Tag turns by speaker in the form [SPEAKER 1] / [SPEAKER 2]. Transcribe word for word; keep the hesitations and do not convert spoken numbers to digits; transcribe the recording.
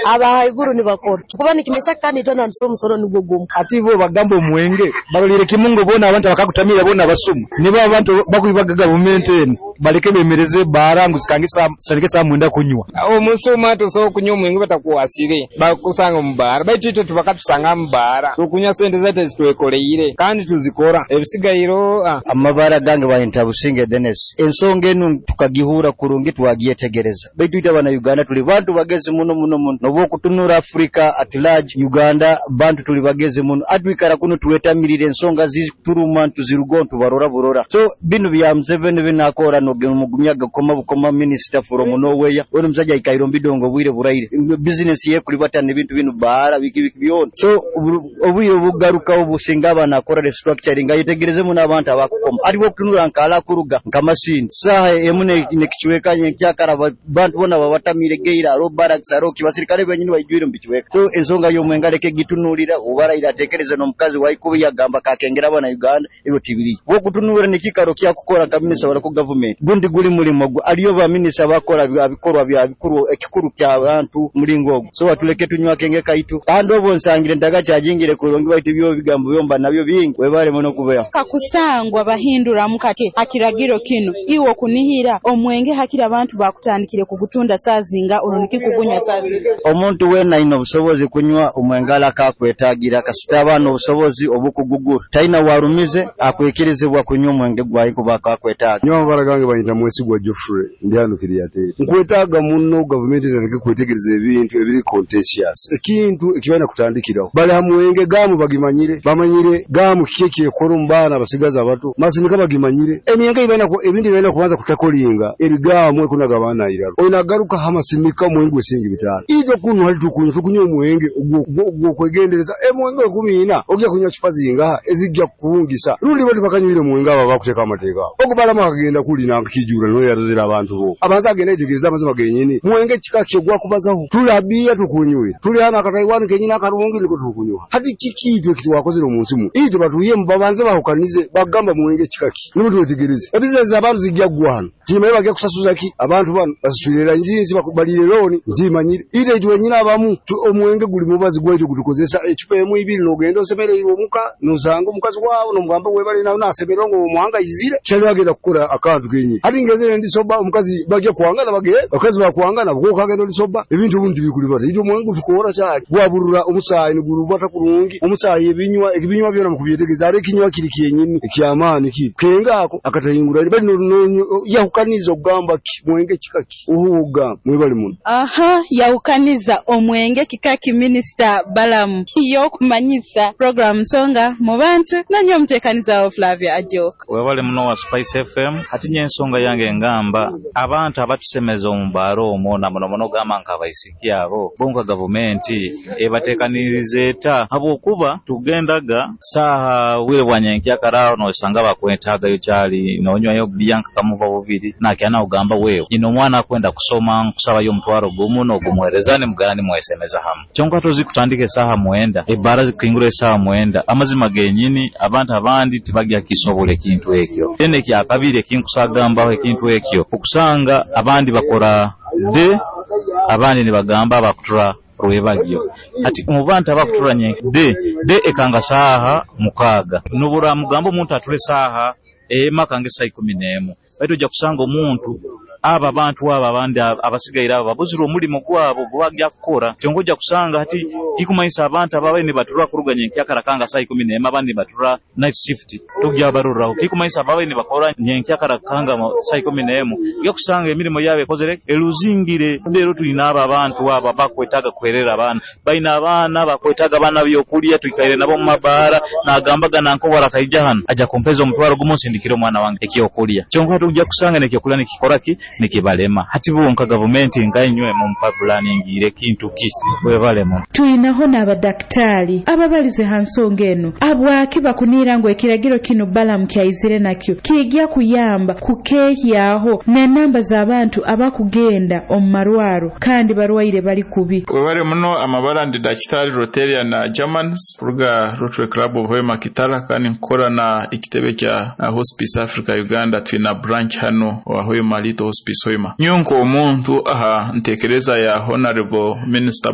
[SPEAKER 1] Abahaiguru nibakora kuba nikimanyisa kandi itwena nitusora omusoro nugwo gumu.
[SPEAKER 2] Ati bo bagamba omwenge baroliire kimu ngu boona abantu abakagutamira boona basuma, nibo abantu bakwibaga gavumenti enu, baleke beemereze ebbaara ngu zikange zitandike saaha mwenda kunywa.
[SPEAKER 3] Omusuma tosobora kunywa omwenge batakukwasire, bakusanga omu bbaara, baitu itwe tibakatusanga mu bbaara. Tukunywa sente zaitu ezitwekoleire kandi tuzikora, ebisigaire ah.
[SPEAKER 4] Amabara gange banyeta Businge Denis. Ensonga enu tukagihura kurungi, twagyetegereza, baitu itwe abana Uganda tuli bantu bagezi muno muno muno. Nobu okutunura Africa at large, Uganda bantu tuli bagezi muno. Atwikara kuno twetamirire ensonga zituruma, ntuzirugo ntubarora burora. So binu bya Museveni binakora nogumyaga kukoma bukoma minister from nowhere. Ono omusajja aikaire omu bidongo obwire buraire, business ye kulibata n'ebintu binu, baara biki biki byona. So obwire obugaruka obusinga aba nakora restructuring, ayetegereze muno abantu abakukoma. Aliwo okutunura nkala kuruga nka Masindi saaha emu nekicweka nyenkyakara, bantu bona babatamire geira aro barracks aro ki basirikale benyini baijwire mu bicweka. So ensonga y'omwenge aleke gitunulira obaraire, atekereze n'omukazi waikubi yagamba kakengera abana Uganda, ebyo tibiri wokutunura nekikaro kyakukora nka minisita wa local government. Gundi guli mulimo gwe, aliyo ba minisita bakora bikorwa bya bikuru, ekikuru ky'abantu mulingo ogwo. So atuleke tunywa akenge kaitu, kandi obwo nsangire ntagakyajingire kurungi, baitu ebyo bigambo byomba nabyo bingi. Webale muno kubeho.
[SPEAKER 5] Kakusangwa bahinduramu kake hakiragiro kino, iwe okunihira omwenge hakiri abantu bakutandikire kugutunda saazinga oruniki kugunywa saazinga?
[SPEAKER 4] Omuntu weena ayina obusobozi kunywa omwenge akakwetagira, kasita aba n'obusobozi obukugugura, talina warumize, akwikirizibwa kunywa omwenge gwayi kuba akakwetaaga.
[SPEAKER 6] Nyowe amabara gange banyita Mwesigwa Geoffrey, ndi hano Kiryateri. Nkwetaaga muno gavumenti etandike kwetegereza ebintu ebiri contentious, ekintu ekibalina kutandikiraho. Bali ha mwenge, gaamu bagimanyire, bamanyire gaamu kiki ekyekora omu baana abasigazi abato, masinika bagimanyire emyenge ebalina. Ebintu ebalina kubanza kutakolinga eri gaamu ekunaga abaana iraro, oyina garuka ha masinika omwenge gw'esiringi bitaano. Itwe kunu hali tukunywa tukunywa omwenge ogw'okwegendereza. Emwenge ekumi ina ogya kunywa cupa zingaha ezijja kukuwungisa? Rundi bo tibakanywire mwenge abo abakuteeka amateeka ago. Ogu Balamu akagenda kuli nakijura noyo yarozere abantu bo abanza agenda yetegereza amazima genyini mwenge kika kyo gwakubazaho. Tuli abiya tukunywire, tuli hano akataiwani kenyini akarungi niko tukunywa. Hati kiki itwe kitwakozere omu nsi mu itwe batuyemu? Babanze bahukanize bagamba mwenge kika ki, nibo twetegereze. Ebizinesi abantu zijja kugwa hano, timanyi bagya kusasuza ki abantu bano basasulira nzinzi balire looni, ntimanyire. Itwe itwe nyina abamu omwenge guli mubazi gwaitu gutukozesa ecupa emu ibiri, nogenda osemereirwe omuka, nosanga omukazi wawe nomugamba webale, nawe nasemererwa ngu omuhanga aizire kyali agenda kukora akantu kenyini. Hati ngezere ndi sober, omukazi bagya kwangana, bagenda abakazi bakwangana bwokagenda oli sober, ebintu obundi tibikulibata. Itwe omwenge gutukora kyali gwaburura omusaayi, nigurubata kurungi omusaayi. Ebinywa ebinywa byona mukubyetegereza, ari ekinywa kiri kyenyini ekyamaani kiri kenga ako akatahingura bali yahukaniza okugamba ki mwenge kika ki ohu ogamba. Mwebale muno.
[SPEAKER 5] Aha, yahukaniza omwenge kikaki. Minisita Balamu y'okumanyisa program Nsonga mu Bantu, nanyo omuteekaniza wa Flavia Ajok.
[SPEAKER 7] Webale muno wa Spice F M. Hati nye ensonga yange ngamba abantu abatusemeza omu baaro omwo, na muno muno gamba nk'abaisiki abo bonka, gavumenti ebateekaniriza eta? Habwokuba tugendaga saaha bwire bwa nyenkyakara, nosanga bakwetaagayo kyali nonywayo bbiya nkakamuva bubiri nakyana ogamba wewe nyina omwana akwenda kusoma, nkusabayo omutwaro gumu n'ogumuhereza, nimugana nimwesemeza hamu. Kyonka tozi kutandika esaaha mwenda, ebbaara zikingura esaaha mwenda. Amazima genyini abantu abandi tibagya kisobola ekintu ekyo. Then ekyakabiri ekinkusagambaho ekintu ekyo, okusanga abandi bakora de abandi nibagamba bakutura rwebagyo. Ati mu bantu abakutura nye de de ekanga saaha mukaaga, nubura mugamba omuntu ature saaha ema kange saa ikumi n'emu, baitu ojja kusanga omuntu abo abantu abo abandi abasigaire abo babuzire omulimu gwabo gwebagya kukora. Kyonka ojja kusanga hati kikumanyisa abantu ababaire nibatura kuruga nyenkyakara kanga saa ikumi n'emu, abandi nibatura night shift, tugya baruraho. Kikumanyisa ababaire nibakora nyenkyakara kanga saa ikumi n'emu, ojja kusanga emirimu yabo ekozere eruzingire. Rero tulina abo abantu abo abakwetaaga kuherera abaana, balina abaana bakwetaaga abaana byokulya, twikaire nabo mu mabaara, nagambaga nankobora akaija hano aja kumpeza omutwaro gumu nsindikire omwana wange ekyokulya. Kyonka tujja kusanga nekyokulya nikikora ki nikibalema. Hati bonka gavumenti nkainywe mumpa pulaningiire kintu ki? Webale muno.
[SPEAKER 8] Tuyinaho n'abadakitaali ababalize ha nsonga eno, abwaki bakuniira ngu ekiragiro kino Balamu kyaizire nakyo kijja kuyamba kukeehyaho n'enamba z'abantu abakugenda omu marwaro kandi barwaire bali kubi.
[SPEAKER 9] Webale muno. Amabara ndi Dakitari Roteria na Germans kuruga Rotary Club of Hoima Kitara, kandi nkora na ekitebe kya uh, Hospice Africa Uganda. Twina branch hano wa Hoima, Little Hospice Hoima. Nyonko omuntu aha ntekereza ya Honorable Minister.